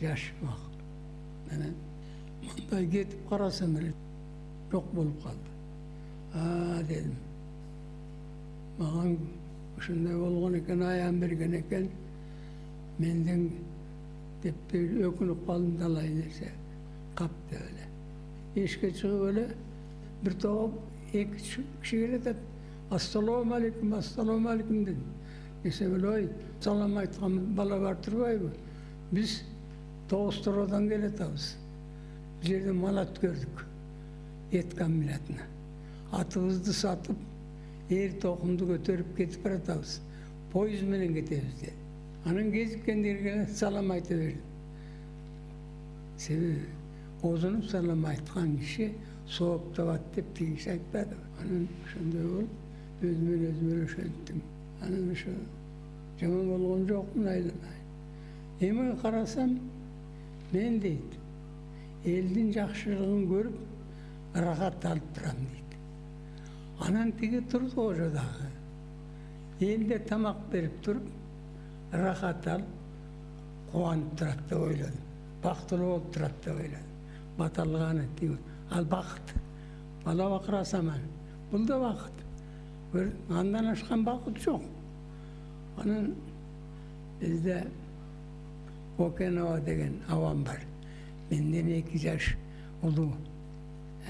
Жаш убакыт. Анан мындай кетип карасам эле жок болуп калды. А дедим. Маган ушундай болгон экен, аян берген экен. Менден деп өкүнүп калдым талай нерсе. Капты эле. Эшикке чыгып эле бир топ эки киши келет. Ассалому алейкум, ассалому алейкум дедим. Десем эле ой, салам айткан бала бар турбайбы? Биз Тоостороодон келатабыз. Бул жерде малат көрдүк. Эт комбинатына. Атыбызды сатып, эр токумду көтөрүп кетип баратабыз. Поезд менен кетебиз деди. Анан кезиккендерге салам айта бердим. Себеби оозунуп салам айткан киши сооп табат деп тиги киши айтпады. Анан ошондой болуп, өзүмөн өзүм эле ошенттим. Анан ошо жаман болгон жокмун айланай. Эми карасам, мен дейт, элдин жакшылыгын көрүп, рахат алып турам дейт. Анан тиги турду ошо дагы. Элде тамак берип туруп, рахат алып, кубанып турат деп ойлодум. Бактылуу болуп турат деп ойлодум. Баталганы тиги. Ал бакыт. Бала бакырасам аны. Бул да бакыт. Андан ашкан бакыт жок. Анан бизде Окенова деген абам бар. Менден эки жаш улуу.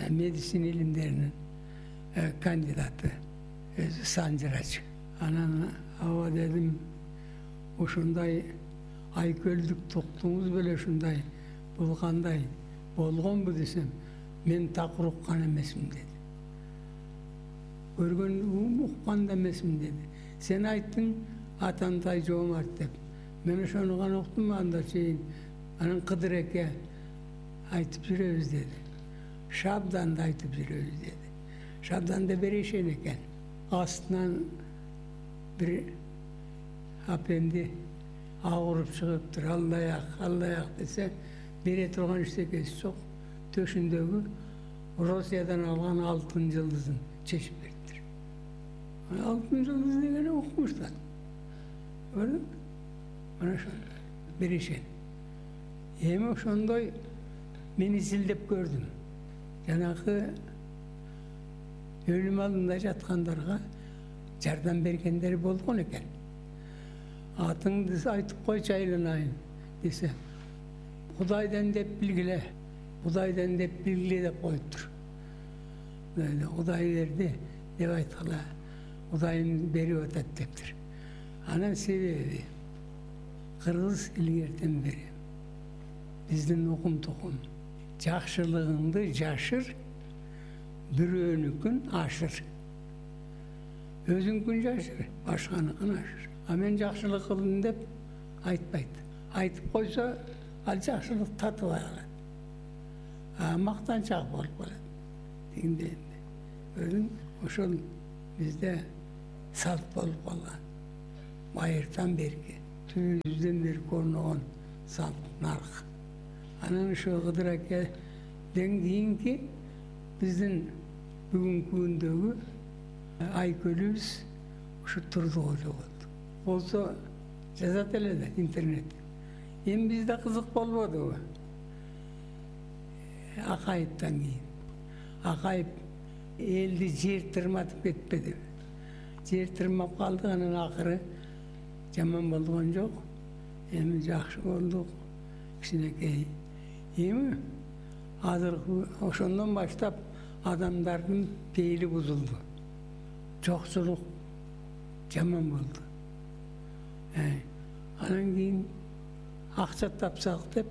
Медицина илимдеринин кандидаты. Өзү санжырачы. Анан аба дедим, ушундай айкөлдүк токтуңуз беле ушундай бул кандай болгонбу десем, мен так уккан эмесмин деди. Көргөн уккан да эмесмин деди. Сен айттың атандай жоомарт деп. Мен ошону гана уктум, анда чейин анан Кыдыр эке айтып жүрөбүз деди. Шабданды айтып жүрөбүз деди. Шабданды беришен экен. Астынан бир апемди агырып чыгыптыр. Аллаяк, аллаяк десе, бере турган эчтекеси жок. Төшүндөгү Россиядан алган алтын жылдызын чечип бериптир. Алтын жылдыз дегени укмуштар. Көрдүң? Мына ошондой беришен. Эми ошондой мен изилдеп көрдүм. Жанагы өлүм алдында жаткандарга жардам бергендер болгон экен. Атыңды айтып койчу айланайын десе, Кудайдан деп билгиле, Кудайдан деп билгиле деп коюптур. Кудай берди деп айткыла, Кудайым берип атат дептир. Анан себеби кыргыз илгертен бери биздин укум тукум жакшылыгыңды жашыр, бирөөнүкүн ашыр. Өзүңкүн жашыр, башканыкын ашыр. А мен жакшылык кылдым деп айтпайт. Айтып койсо, ал жакшылык татыбай калат. А мактанчак болуп калат. Дегенде көрдүң, ошол бизде салт болуп калган. Байыртан берки түбүбүздөн бери көрнөгөн салт нарк. Анан ошо Кыдыр акеден кийинки биздин бүгүнкү күндөгү айкөлүбүз ушу Турдукожо болду. Болсо жазат эле да интернет. Эми бизде кызык болбодубу? Акаевден кийин. Акаев элди жер тырматып кетпедиби? Жер тырмап калды, анан акыры жаман болгон жок. Эми жакшы болдук, кичинекей. Эми азыркы ошондон баштап адамдардын пейили бузулду. Жокчулук жаман болду. Анан кийин акча тапсак деп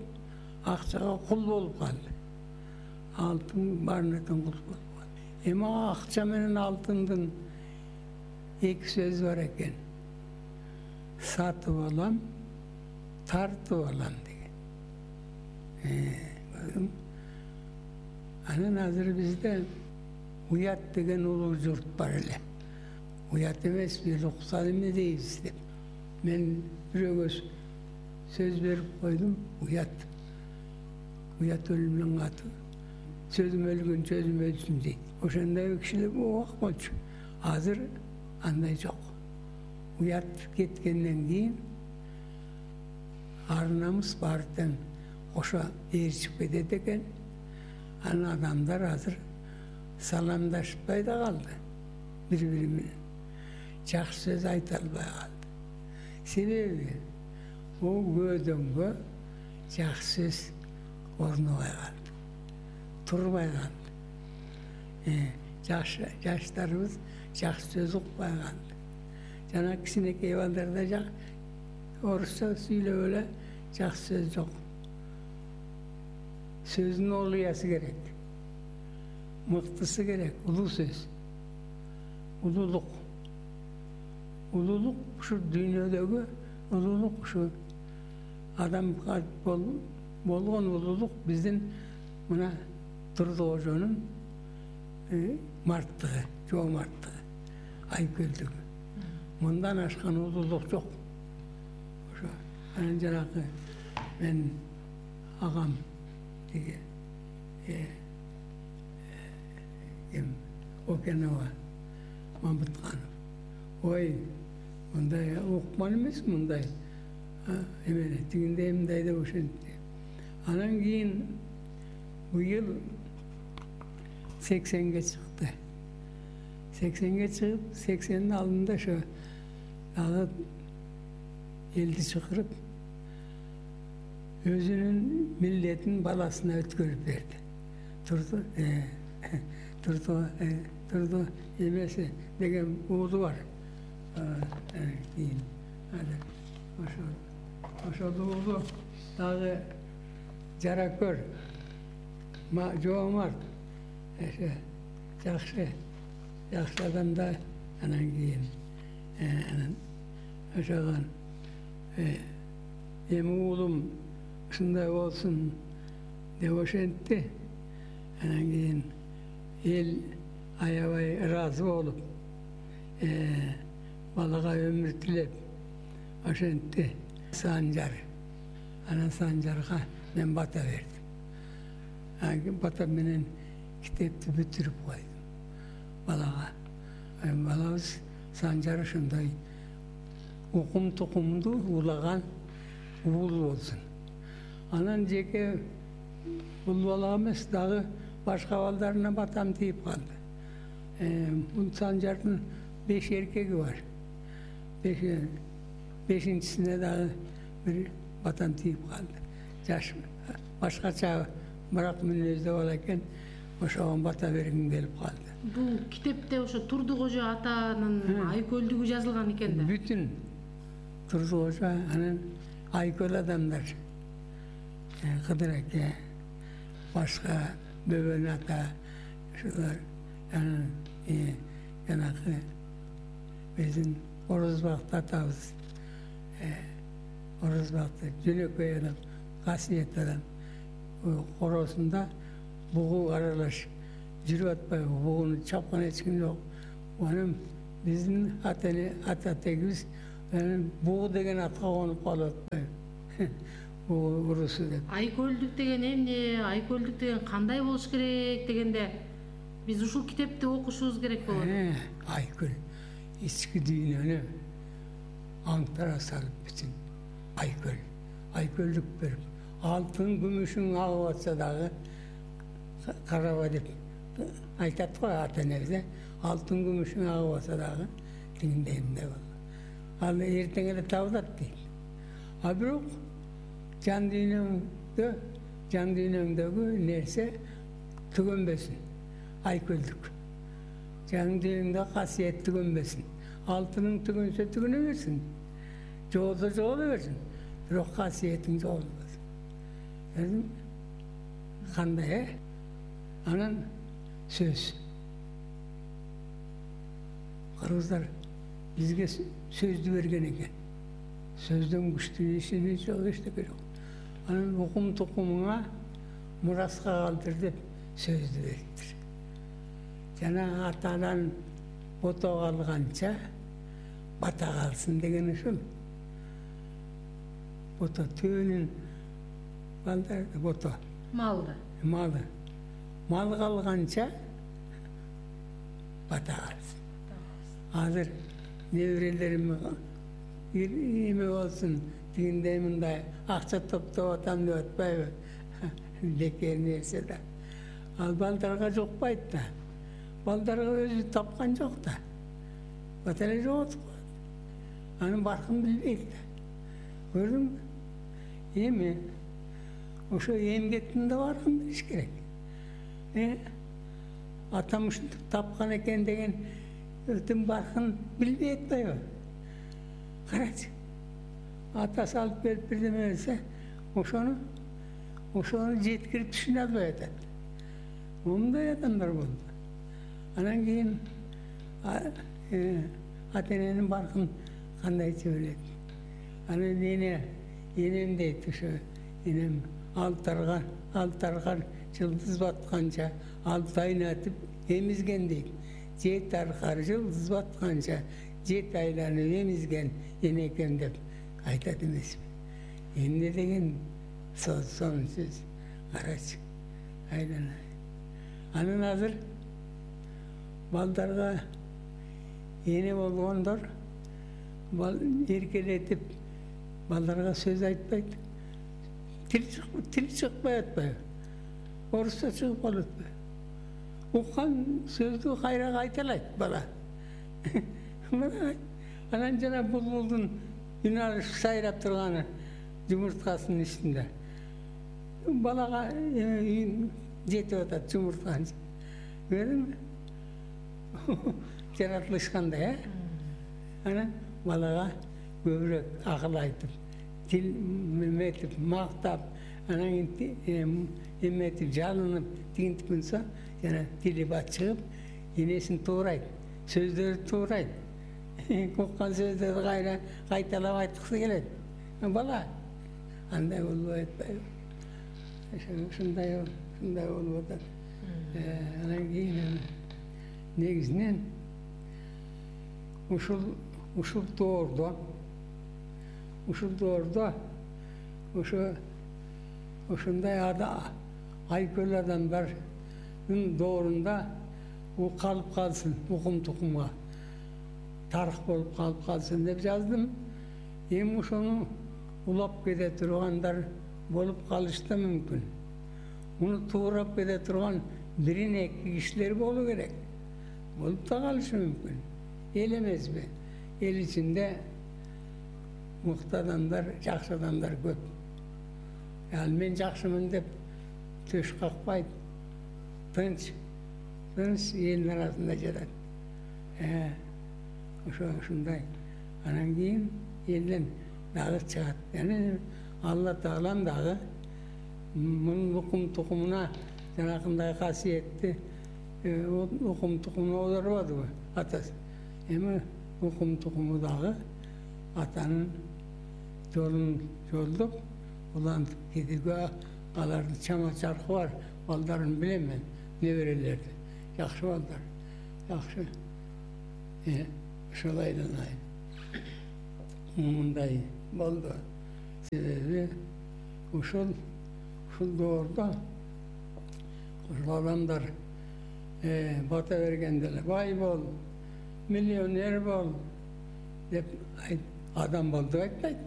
акчага кул болуп калды. Алтын баарынан кул болуп калды. Эми акча менен алтындын эки сөз бар экен. Сатып алам, тартып алам деген. Анан азыр бизде уят деген улуу журт бар эле. Уят эмеспи, руксат эме дейбиз деп. Мен бирөөгө сөз берип койдум, уят. Уят өлүмнүн аты. Сөзүм өлгөн сөзүм өлсүн дейт. Ошондой кишилер убак болчу. Азыр андай жок. Уят кеткенден кийин ар намыс баардын кошо ээрчип кетет экен. Анан адамдар азыр саламдашпай да калды бири-бири менен. Жакшы сөз айта албай калды. Себеби ол көдөнгө жакшы сөз орнобой калды, турбай калды. Жакшы жаштарыбыз жакшы сөз укпай калды. Жана кичинекей балдарда жак орусча сүйлөп эле жакшы сөз жок. Сөздүн олуясы керек, мыктысы керек, улуу сөз. Улуулук. Улуулук ушу дүйнөдөгү улуулук, ушу адамга болгон улуулук биздин мына Турдукожонун марттыгы, жоомарттыгы, айкөлдүгү. Мындан ашкан улуулук жок. Ошо анан жанагы мен агам деген ким Окенова Мамытканов. Ой, мындай укман эмес, мындай эмени тигиндей мындай деп ошентти. Анан кийин быйыл сексенге чыкты. сексенге чыгып, сексендин алдында ошо дагы элди чакырып өзүнүн миллетин баласына өткөрүп берди. Турду, турду, турду эмеси деген уулу бар. Кийин ошо ошол уулу дагы жаракөр, жоомарт, жакшы, жакшы адамда. Анан кийин ошогон эми уулум ушундай болсун деп ошентти. Анан кийин эл аябай ыраазы болуп балага өмүр тилеп ошентти. Санжар. Анан Санжарга мен бата бердим. Бата менен китепти бүтүрүп койдум балага. Балабыз Санжар ошондой укум тукумду улаган уул болсун. Анан жеке бул бала эмес, дагы башка балдарына батам тийип калды. Бул Санжардын беш эркеги бар. Бешинчисине дагы бир батам тийип калды. Жаш башкача бирок мүнөздө бала экен, ошого бата бергим келип калды. Бул китепте ошо Турдукожо атанын айкөлдүгү жазылган экен да. Бүтүн Турдукожо, анан айкөл адамдар, Кыдыр аке, башка Бөбөн ата, ошолор, анан жанагы биздин Орозбакты атабыз, Орозбакты жөнөкөй адам, касиет адам, коросунда бугу аралаш жүрүп атпайбы, бугуну чапкан эч ким жок. Анан биздин ата ата тегибиз буу деген атка конуп калып атпайбы? Буу урусу деп. Айкөлдүк деген эмне, айкөлдүк деген кандай болуш керек дегенде биз ушул китепти окушубуз керек болот. Айкөл ички дүйнөнү аңтара салып бүтүн айкөл, айкөлдүк берип, алтын күмүшүң агып атса дагы караба деп айтат го ата энебиз, алтын күмүшүң агып атса дагы тигиндей мындай бол. Ал эртең эле табылат дейт. А бирок жан дүйнөңдө, жан дүйнөңдөгү нерсе түгөнбөсүн. Айкөлдүк. Жан дүйнөңдө касиет түгөнбөсүн. Алтының түгөнсө түгөнө берсин. Жоолсо жооло берсин. Бирок касиетиң жоолбосун. Көрдүңбү? Кандай, э? Анан сөз. Кыргыздар бизге сөздү берген экен. Сөздөн күчтүү ишини жок эчтеке жок. Анан укум тукумуңа мураска калтыр деп сөздү бериптир. Жана атадан бото калганча бата калсын деген ушул. Бото түбүнүн балдарды бото. Малды. Малы. Мал калганча бата калсын. Азыр неберелерим эме болсун, тигиндей мындай акча топтоп атам деп атпайбы? Бекер нерсе да. Ал балдарга жукпайт да. Балдарга өзү тапкан жок да. Бата эле жоготуп коет. Анын баркын билбейт да. Көрдүңбү? Эми ошо эмгектин да баркын билиш керек. Э? Атам ушинтип тапкан экен деген өтүн баркын билбей атпайбы? Карачы. Атасы алып берип бирдеме берсе, ошону ошону жеткирип түшүнө албай атат. Мондай адамдар болду. Анан кийин ата эненин баркын кандайча билет. Анан эне энем дейт ошо энем алтарга алтарга жылдыз батканча алты айнатып эмизген дейт. Жети аркар жылдыз батканча жети айланып эмизген энекем деп айтат эмеспи? Эмне деген сонун сөз. Карачы. Айланай. Анан азыр балдарга эне болгондор эркелетип балдарга сөз айтпайт. Тил чыкпай атпайбы? Орусча чыгып калып атпайбы? Уккан сөздү кайра кайталайт бала. Анан жана булбулдун үн алышып сайрап турганы жумурткасынын үстүндө. Балага жетип атат жумуртканы. Көрдүңбү? Жаратылыш кандай, э? Анан балага көбүрөөк акыл айтып, тил эметип, мактап, анан эметип, жалынып, тигинтип кылса, жана тили бачыгып, энесин туурайт, сөздөрү туурайт. Уккан сөздөрдү кайра кайталап айткысы келет. Бала андай болбой атпайбы? Ушундай ушундай болуп атат. Анан кийин негизинен ушул ушул доордо ушул доордо ошо ошондой айкөл адамдардын доорунда калып калсын, укум тукумга тарых болуп калып калсын деп жаздым. Эми ошону улап кете тургандар болуп калышы да мүмкүн. Муну туурап кете турган бирин эки кишилер болуу керек. Болуп да калышы мүмкүн. Эл эмеспи? Эл ичинде мыкты адамдар, жакшы адамдар көп. Ал мен жакшымын деп төш какпайт. Тынч, тынч элдин арасында жатат. Ошо ушундай. Анан кийин элден дагы чыгат. Яны Алла Таалам дагы мунун укум тукумуна жанакындай касиетти укум тукумуна оодарбадыбы атасы? Эми укум тукуму дагы атанын жолун жолдоп улантып кетүүгө алардын чама чаркы бар. Балдарын билем мен, неберелерди. Жакшы балдар. Жакшы. ушул айланайын. Мындай болду. Себеби ушул ушул доордо ушул адамдар бата бергенде эле бай бол, миллионер бол деп адам бол деп айтпайт.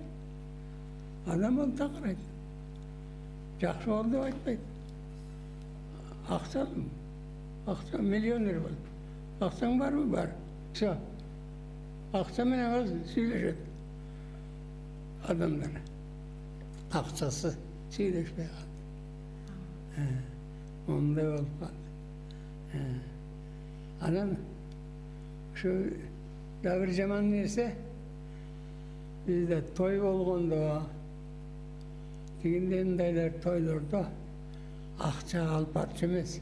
Адам бол деп карайт. Жакшы бол деп айтпайт. Акча, акча миллионер бол. Акчаң барбы? Бар. Все. Акча менен сүйлөшөт адамдар. Акчасы сүйлөшпөй калды. Ондай болуп калды. Анан ушу да бир жаман нерсе, бизде той болгондо, тигиндей мындайлар тойлордо акча алып барчу эмес.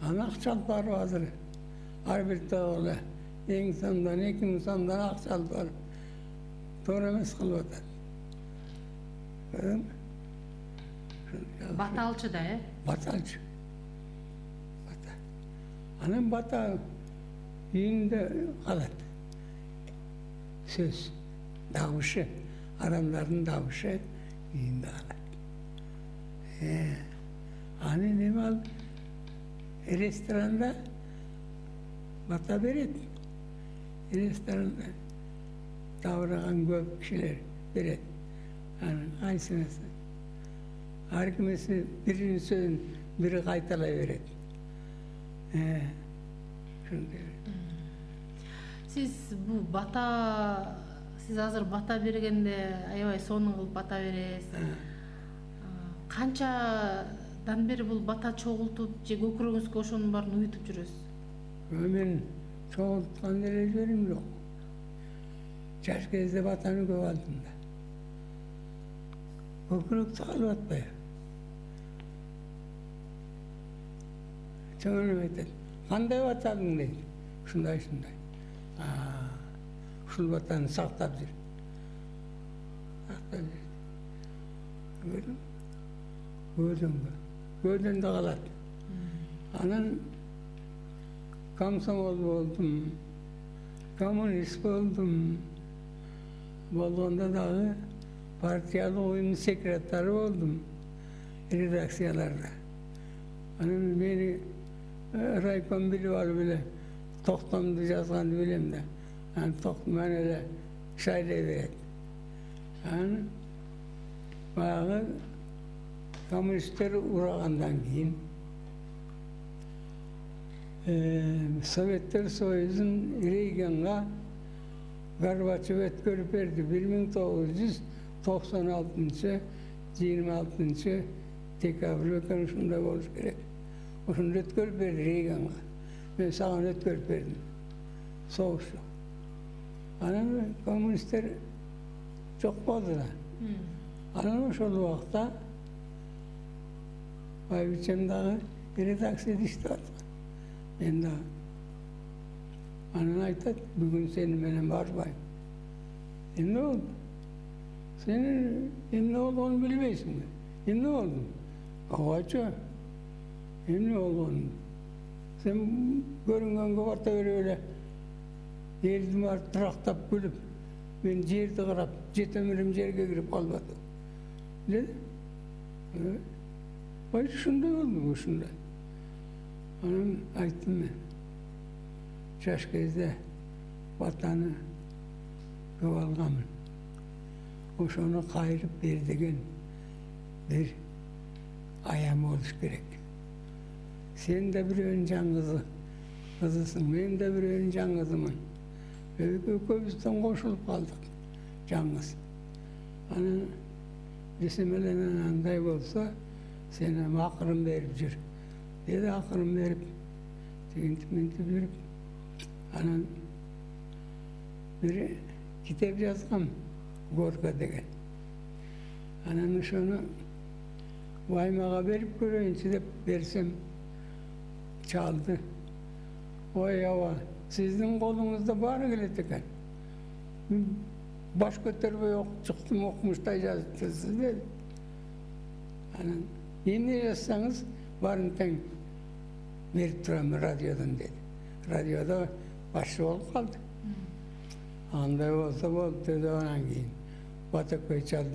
Аны акча алып барып азыр ар бир той эле эң сомдон, эки миң сомдон акча алып барып туура эмес кылып атат. Бата алчу да, э? Бата алчу. Бата. Анан бата үйүндө калат. Сөз, дабышы, адамдардын дабышы үйүндө калат. Аны неме ал ресторанда бата берет. Ресторанда табыраган көп кишилер берет. Анын кайсынысы ар кимиси биринин сөзүн бири кайталай берет. Сиз бул бата, сиз азыр бата бергенде аябай сонун кылып бата бересиз. Канчадан бери бул бата чогултуп же көкүрөгүңүзгө ошонун баарын уютуп жүрөсүз? Мен чогулткан деле жерим жок. Жаш кезде батаны көп алдым да. Көкүрөк чыгарып атпайбы? Чоңуну айтат. Кандай батадың дейт. Ушундай ушундай. Ушул батаны сактап жүр. Сактап жүр. Көрдүң? Көзүңгө. Көзүндө калат. Анан комсомол болдум. Коммунист болдум. Болгондо дагы партиялык уюмдун секретары болдум. Редакцияларда. Анан мени райком билип алып эле токтомду жазганды билем да. Анан токтом эле шайлай берет. Анан баягы коммунисттер урагандан кийин Советтер Союзун Рейганга Горбачев өткөрүп берди. бир миң тогуз жүз токсон алтынчы жыйырма алтынчы декабрь экен ушундай болуш керек. Ошондо өткөрүп берди Рейганга. Мен саган өткөрүп бердим. Согуш жок. Анан коммунисттер жок болду да. Анан ошол убакта байбичем дагы редакцияда иштеп аткан. Мен дагы. Анан айтат, бүгүн сени менен барбайм. Эмне болду? Сен эмне болгонун билбейсиңби? Эмне болду? Ооба. Эмне болгонун? Сен көрүнгөнгө барта берип эле элди барып трактап күлүп, мен жерди карап, жетем элем жерге кирип калбадым. Деди. Бай ушундай болду, ушундай. Анан айттым мен. Жаш кезде батаны көп алганмын. Ошону кайрып бер деген бир аям болуш керек. Сен де бирөөнүн жан кызы, кызысың, мен де бирөөнүн жан кызымын. Экөөбүздөн кошулуп калдык, жан кыз. Анан десем эле андай болсо, сен эми акырын берип жүр. Деди акырын берип, тигинтип мынтип жүрүп, анан бир китеп жазгам, Горка деген. Анан ошону Ваймага берип көрөйүнчү деп берсем, чалды. Ой, аба, сиздин колуңузда баары келет экен. Баш көтөрбөй чыктым, окумуштай жазыптсыз деди. Анан эмне жазсаңыз баарын тең берип турам радиодон деди. Радиодо башчы болуп калды. андай болсо болупту деп анан кийин бата көй чалда